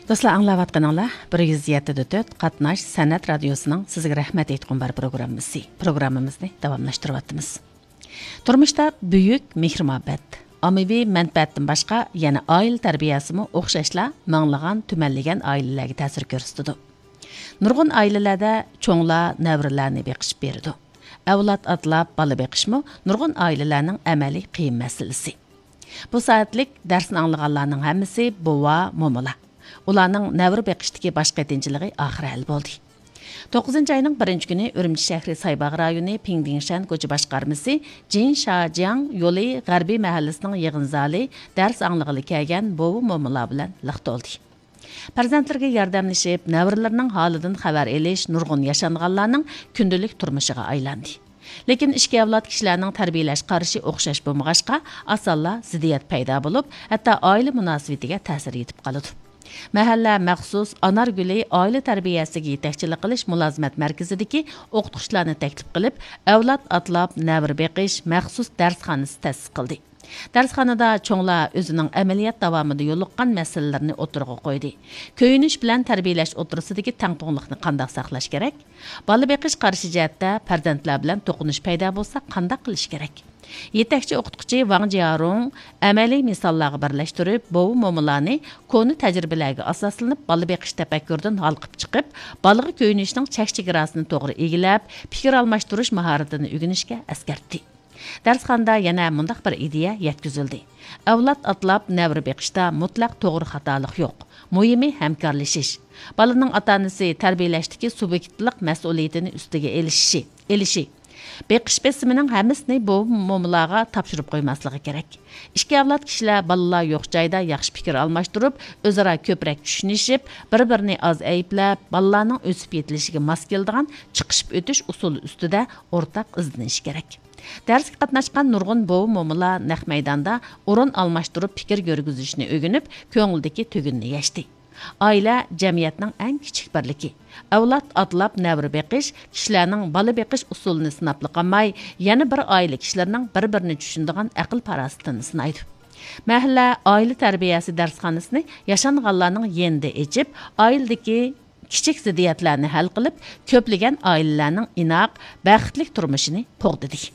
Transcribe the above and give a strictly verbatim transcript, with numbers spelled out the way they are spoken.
دوستلار، ئاڭلاۋاتقىنىڭلار بىر يۈز يەتتە دە تۆت قاتناش سەنئەت رادىيوسىنىڭ سىزگە رەھمەت ئېيتقۇم بار پروگراممىسى. پروگراممىمىزنى داۋاملاشتۇرۇۋاتىمىز. تۇرمۇشتا بۈيۈك مېھىر-مۇھەببەت، ئاممىۋى مەنپەئەتتىن باشقا يەنە ئائىلە تەربىيەسىمۇ ئوخشاشلا مىڭلىغان، تۈمەنلىگەن ئائىلىلەرگە تەسىر كۆرسىتىدۇ. نۇرغۇن ئائىلىلەردە چوڭلار نەۋرىلەرنى بېقىشىپ بېرىدۇ. ئەۋلاد ئاتلاپ بالا بېقىشمۇ نۇرغۇن ئائىلىلەرنىڭ ئەمەلىي قىيىن مەسىلىسى. بۇ سائەتلىك دەرسنى ئاڭلىغانلارنىڭ ھەممىسى بوۋا، مومىلار. ئۇلارنىڭ نەۋرە بېقىشتىكى باش قېتىنچىلىقى ئاخىرى ھەل بولدى. توققۇزىنچى ئاينىڭ بىرىنچى كۈنى ئۈرۈمچى شەھىرى سايباغ رايونى پىڭدىڭشەن كوچا باشقارمىسى جىن شاجياڭ يولى غەربىي مەھەللىسىنىڭ يىغىن زالى دەرس ئاڭلىغىلى كەلگەن بوۋا، مومىلار بىلەن لىق تولدى. پەرزەنتلىرىگە ياردەملىشىپ، نەۋرىلىرىنىڭ ھالىدىن خەۋەر ئېلىش نۇرغۇن ياشانغانلارنىڭ كۈندىلىك تۇرمۇشىغا ئايلاندى. لېكىن ئىككى ئەۋلاد كىشىلەرنىڭ تەربىيەلەش قارىشى ئوخشاش بولمىغاچقا، ئاسانلا زىددىيەت پەيدا بولۇپ، ھەتتا ئائىلە مۇناسىۋىتىگە تەسىر يېتىپ قالىدۇ. مەھەللە مەخسۇس ئانار گۈلى ئائىلە تەربىيەسىگە يېتەكچىلىك قىلىش مۇلازىمەت مەركىزىدىكى ئوقۇتقۇچىلارنى تەكلىپ قىلىپ، ئەۋلاد ئاتلاپ نەۋرە بېقىش مەخسۇس دەرسخانىسى تەسىس قىلدى. دەرسخانىدا چوڭلار ئۆزىنىڭ ئەمەلىيەت داۋامىدا يولۇققان مەسىلىلىرىنى ئوتتۇرىغا قويدى. كۆيۈنۈش بىلەن تەربىيەلەش ئوتتۇرىسىدىكى تەڭپۇڭلۇقنى قانداق ساقلاش كېرەك؟ بالا بېقىش قارىشى جەھەتتە پەرزەنتلەر بىلەن توقۇنۇش پەيدا بولسا قانداق قىلىش كېرەك؟ يېتەكچى ئوقۇتقۇچى ۋاڭ جيارۇڭ ئەمەلىي مىساللارغا بىرلەشتۈرۈپ، بوۋا، مومىلارنى كونا تەجرىبىلەرگە ئاساسلىنىپ، بالا بېقىش تەپەككۇرىدىن ھالقىپ چىقىپ، بالىغا كۆيۈنۈشنىڭ چەك چېگراسىنى توغرا ئىگىلەپ، پىكىر ئالماشتۇرۇش ماھارىتىنى ئۆگىنىشكە ئەسكەرتتى. دەرسخانىدا يەنە مۇنداق بىر ئىدىيە يەتكۈزۈلدى. ئەۋلاد ئاتلاپ نەۋرە بېقىشتا مۇتلەق توغرا خاتالىق يوق. مۇھىمى ھەمكارلىشىش. بالىنىڭ ئاتا-ئانىسى تەربىيەلەشتىكى سۇبيېكتلىق مەسئۇلىيىتىنى ئۈستىگە ئېلىشى، ئېلىشى. بېقىش بېسىمىنىڭ ھەممىسىنى بوۋا، مومىلارغا تاپشۇرۇپ قويماسلىقى كېرەك. ئىككى ئەۋلاد كىشىلەر بالىلار يوق جايدا ياخشى پىكىر ئالماشتۇرۇپ، ئۆزئارا كۆپرەك چۈشىنىشىپ، بىر-بىرىنى ئاز ئەيىبلەپ، بالىلارنىڭ ئۆسۈپ يېتىلىشىگە ماس كېلىدىغان چىقىشىپ ئۆتۈش ئۇسۇلى ئۈستىدە ئورتاق ئىزدىنىشى كېرەك. دەرسكە قاتناشقان نۇرغۇن بوۋا، مومىلار نەق مەيداندا ئورۇن ئالماشتۇرۇپ پىكىر يۈرگۈزۈشنى ئۆگىنىپ، كۆڭلىدىكى تۈگۈننى يەشتى. ئائىلە جەمئىيەتنىڭ ئەڭ كىچىك بىرلىكى. ئەۋلاد ئاتلاپ نەۋرە بېقىش كىشىلەرنىڭ بالا بېقىش ئۇسۇلىنى سىناپلا قالماي، يەنە بىر ئائىلە كىشىلىرىنىڭ بىر-بىرىنى چۈشىنىدىغان ئەقىل-پاراسىتىنى سىنايدۇ. مەھەللە ئائىلە تەربىيەسى دەرسخانىسىنى ياشانغانلارنىڭ يېنىدا ئېچىپ، ئائىلىدىكى كىچىك زىددىيەتلەرنى ھەل قىلىپ، كۆپلىگەن ئائىلىلەرنىڭ ئىناق، بەختلىك تۇرمۇشىنى قوغدىدى.